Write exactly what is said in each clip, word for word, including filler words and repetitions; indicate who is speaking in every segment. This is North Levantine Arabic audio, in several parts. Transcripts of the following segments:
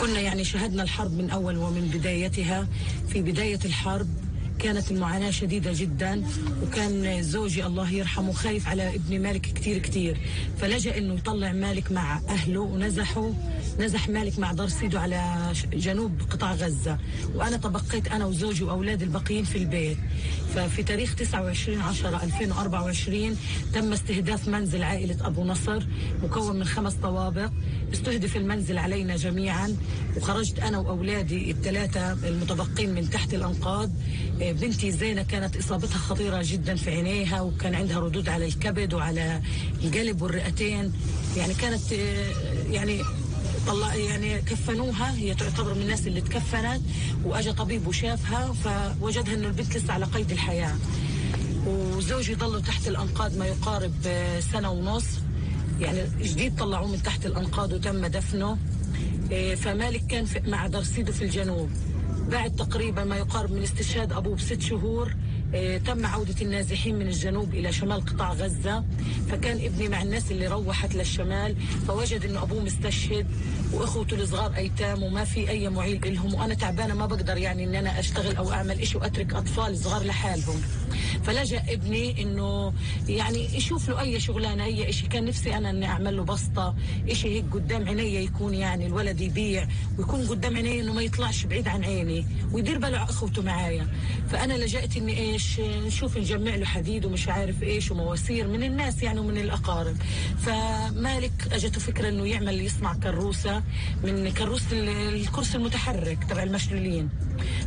Speaker 1: كنا يعني شهدنا الحرب من أول ومن بدايتها. في بداية الحرب كانت المعاناة شديدة جدا، وكان زوجي الله يرحمه خايف على ابن مالك كتير كتير، فلجأ انه يطلع مالك مع اهله ونزحوا نزح مالك مع دارسيدو على جنوب قطاع غزة، وانا تبقيت انا وزوجي واولاد الباقيين في البيت. ففي تاريخ تسعة وعشرين عشرة ألفين وأربعة وعشرين تم استهداف منزل عائلة ابو نصر مكون من خمس طوابق. استهدف المنزل علينا جميعا، وخرجت انا واولادي الثلاثة المتبقين من تحت الانقاض. بنتي زينة كانت إصابتها خطيرة جدا في عينيها، وكان عندها ردود على الكبد وعلى القلب والرئتين. يعني كانت يعني طلع يعني كفنوها، هي تعتبر من الناس اللي تكفنت، وأجا طبيب وشافها فوجدها إنه البنت لسه على قيد الحياة. وزوجي ضلوا تحت الأنقاض ما يقارب سنة ونص، يعني جديد طلعوه من تحت الأنقاض وتم دفنه. فمالك كان مع دارسيدو في الجنوب. بعد تقريبا ما يقارب من استشهاد أبوه بست شهور اه تم عودة النازحين من الجنوب إلى شمال قطاع غزة. فكان ابني مع الناس اللي روحت للشمال، فوجد إنه أبوه مستشهد وإخوته الصغار أيتام وما في أي معيل لهم، وأنا تعبانة ما بقدر يعني إن أنا أشتغل أو أعمل إشي وأترك أطفال صغار لحالهم. فلجأ ابني إنه يعني يشوف له أي شغلانة، أي إشي. كان نفسي أنا إني أعمل له بسطة، إشي هيك قدام عيني يكون يعني الولد يبيع ويكون قدام عيني، إنه ما يطلعش بعيد عن عيني ويدير باله على اخوته معايا. فانا لجأت اني ايش نشوف نجمع له حديد ومش عارف ايش ومواسير من الناس يعني ومن الاقارب. فمالك اجته فكره انه يعمل يصنع كروسه من كروسه الكرسي المتحرك تبع المشلولين.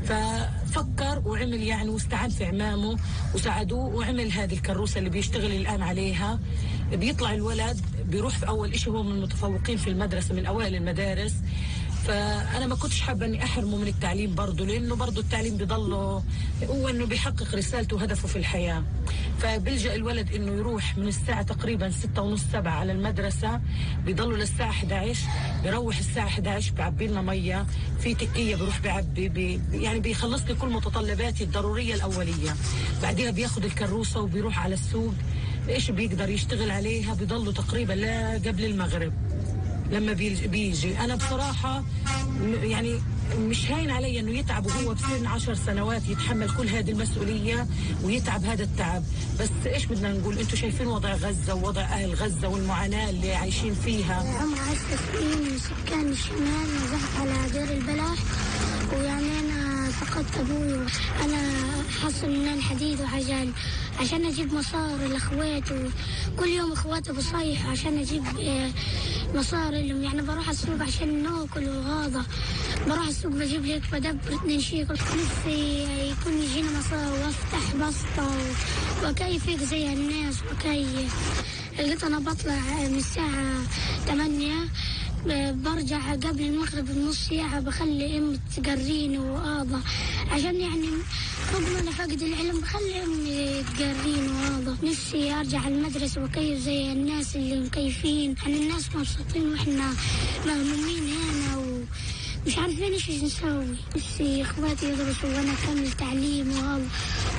Speaker 1: ففكر وعمل يعني واستعان في عمامه وساعدوه وعمل هذه الكروسه اللي بيشتغل الان عليها. بيطلع الولد بيروح في اول اشي، هو من المتفوقين في المدرسه من اوائل المدارس. فأنا ما كنتش حابة أني أحرمه من التعليم برضه، لأنه برضه التعليم بيضله هو أنه بيحقق رسالته وهدفه في الحياة. فبيلجأ الولد أنه يروح من الساعة تقريبا ستة ونص سبعة على المدرسة، بيضله للساعة إحدى عشر، بيروح الساعة إحدى عشر بيعبي لنا مية في تكية، بيروح بيعبي بي يعني بيخلص لي كل متطلباتي الضرورية الأولية. بعدها بياخد الكروسة وبيروح على السوق، إيش بيقدر يشتغل عليها، بيضله تقريبا لا قبل المغرب لما بيجي. أنا بصراحة يعني مش هين علي أنه يتعب وهو بسن عشر سنوات يتحمل كل هذه المسؤولية ويتعب هذا التعب. بس إيش بدنا نقول، أنتوا شايفين وضع غزة ووضع أهل غزة والمعاناة اللي عايشين فيها.
Speaker 2: عمر عشر سنين من سكان الشمال، نزحت على دير البلح، ويعني أنا فقدت أبوي. أنا حصل مننا الحديد وعجل عشان أجيب مصاري لأخواته، كل يوم أخواته بصيح عشان أجيب مصاري لهم. يعني بروح السوق عشان ناكل وغاضة، بروح السوق بجيب هيك بدبر اتنين شيكل. نفسي يكون يجينا مصاري وافتح بسطة وكيف هيك زي الناس وكيف. لقيت أنا بطلع من الساعة ثمانية، برجع قبل المغرب بنص ساعة، بخلي أمي تقريني وآضة عشان يعني رغم أنا فاقد العلم بخلي أمي تقريني وآضة. نفسي أرجع المدرسة وكيف زي الناس اللي مكيفين، يعني الناس مبسوطين وإحنا مهمومين هنا ومش عارفين إيش نسوي. نفسي إخواتي يدرسوا وأنا أكمل تعليم وهذا،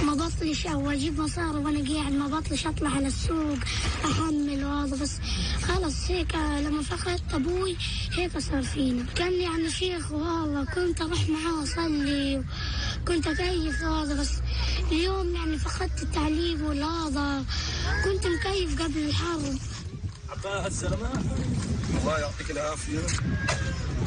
Speaker 2: ما بطلش أو أجيب مصاري وأنا قاعد، ما بطلش أطلع على السوق أحمل وهذا. بس خلص هيك لما فقدت أبوي هيك صار فينا. كان يعني شيخ وهذا، كنت أروح معاه أصلي، كنت أكيف هذا. بس اليوم يعني فقدت التعليم والهذا، كنت مكيف قبل الحرب.
Speaker 3: عباها الزلمة الله يعطيك العافية.